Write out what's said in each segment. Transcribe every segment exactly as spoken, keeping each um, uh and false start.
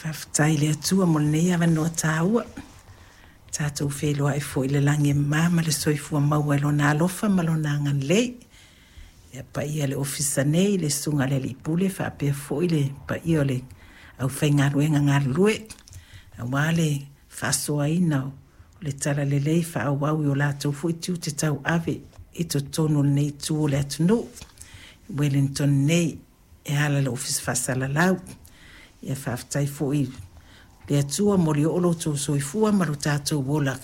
Faafetai i le Atua mo lenei avanoa taua. Tatou feiloai foi i le lagi e mama ma le soifua maua i Lona alofa ma Lona agalelei. Ia paia le ofisa nei, le susuga i le Alii Pule faapea foi le paia o le aufaigaluega galulue aua le faasoaina o le talalelei faaauau i o latou foi tiute tauave i totonu o lenei itu o le atunuu. Wellington nei e ala i le Ofisa Faasalalau. Ia faafetai foi i le Atua mo le oo lo outou soifua ma lo tatou ola.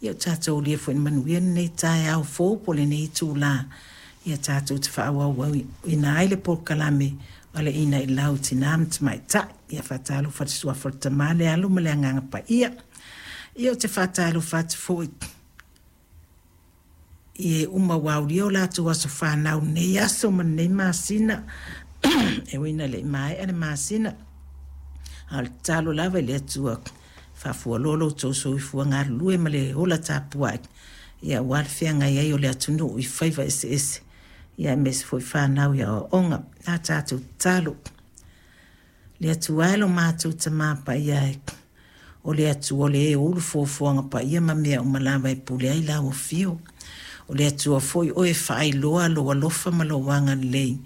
Ia o tatou aulia foi i le manuia lenei taeao fou po o lenei itula. Ia tatou te faaauauina ai le polokalame o le Inaila i Tina ma Tamaitai. Ia faatalofa i le suafa o le Tama, le Alo ma le Agaga Paia. Ia ou te faatalofa atu foi i e uma ua aulia o latou aso fanau i lenei aso ma lenei masina. E ui ina le i maea le masina, a o le tatalo lava i le Atua, faafualoa lo outou soifua galulue ma le ola tapuai, ia aua le feagai ai o le atunuu i faiva eseese, ia aemaise foi fanau i aoaoga. A tatou tatalo. Le Atua e lo matou Tama Paia e, o le Atua o le e ou fuafuaga paia ma mea uma lava e pule ai lau afio. O le Atua foi oe e faailoa lou alofa ma lou agalelei,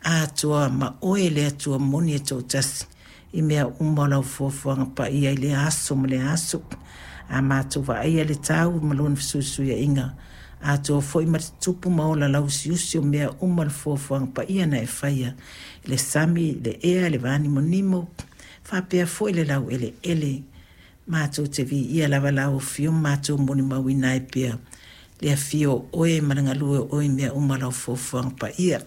atoa ma oe le Atua moni e toatasi i mea uma o lau fuafuaga paia i lea aso ma lea aso. A matou vaaia le tau ma lona fesuisuiaiga, atoa foi ma le tupu ma ola lauusiusi o mea uma le fuafuaga paia na e faia, le sami, le ea, le vanimonimo, faapea foi le laueleele. Matou te viia lava lau afio ma matou molimauina ai pea le afio o oe ma le galue o oe i mea uma o lau fuafuaga paia.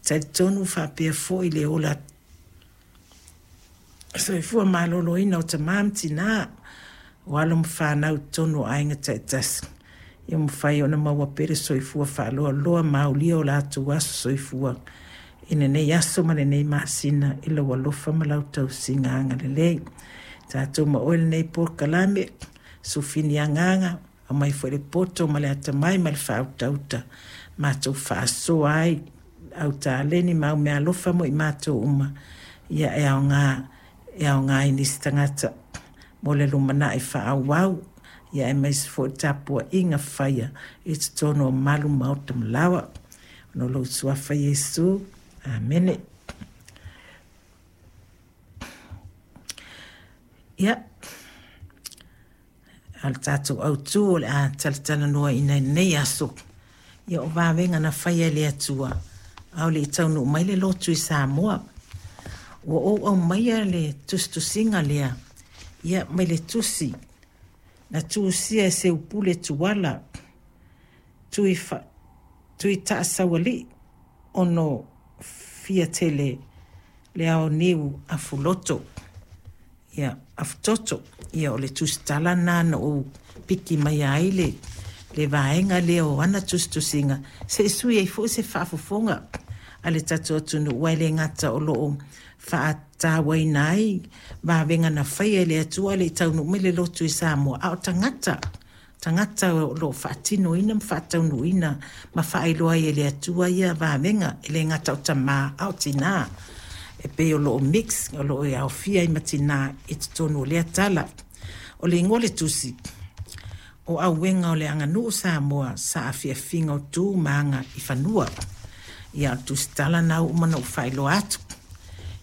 Talitonu faapea foi le ola soifua maloloina o tama ma tina, o alo ma fanau i totonu o aiga taitasi, ia mafai ona maua pea le soifua faaloaloa ma aulia o latou aso soifua i lenei aso ma lenei masina i lou alofa ma lau tausiga agalelei. Tatou ma oe lenei polokalame, sufini agaga, aumai foi le poto ma le atamai ma le faautauta, matou faasoa ai au taleni ma au meaalofa mo i matou uma, ia e aoga, e aoga i nisi tagata mo le lumanai faaauau, ia aemaise foi le tapuaiga faia i totonu o malu maota ma laoa. Ona o lou suafa Iesu. Amene. Ia, a le tatou autu o le a talatalanoaina i lenei aso, ia o vavega na faia e le Atua a o le i taunuu mai le lotu i Samoa. Ua ou aumaia le tusitusiga lea, ia mai le tusi na tusia e Seupule Tuala Tui, fa, tui Taasaualii ono Fiatele le aoniu afuloto. Ia, afutoto. Ia, o le tusitala lena na ou piki mai ai le, le vaega lea o ana tusitusiga, se i sui ai foi se faafofoga a le tatou atunuu, aua e le gata o lo o faatauaina ai vavega na faia e le Atua a o le i taunuu mai le lotu i Samoa, a o tagata tagata o lo o faatinoina ma faataunuuina ma faailoa ai e le Atua ia vavega, e le gata o tamā a o tinā. E pei o lo o mix, o lo o aofia ai ma tinā i totonu o lea tala. O le igoa o le tusi, o Auega o le Aganuu Samoa, Saafiafiga o Tu ma Aga i Fanua. Ia, o le tusitala na ua uma ona ou faailoa atu.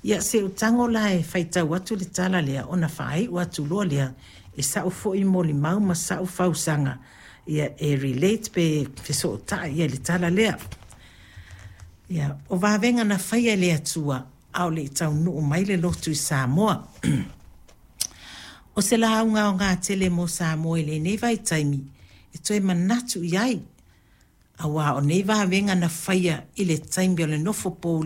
Ia, se i ou tago la e faitau atu le tala lea, ona faaiu atu loa lea i sau foi molimau ma sau fausaga, ia e relate pe fesootai ia i le tala lea. Ia, o vavega na faia e le Atua a o le i taunuu mai le lotu i Samoa. O se lauga aoga tele mo Samoa i lenei vaitaimi e toe manatu i ai, aua o nei vavega na faia i le taimi o le nofo pouli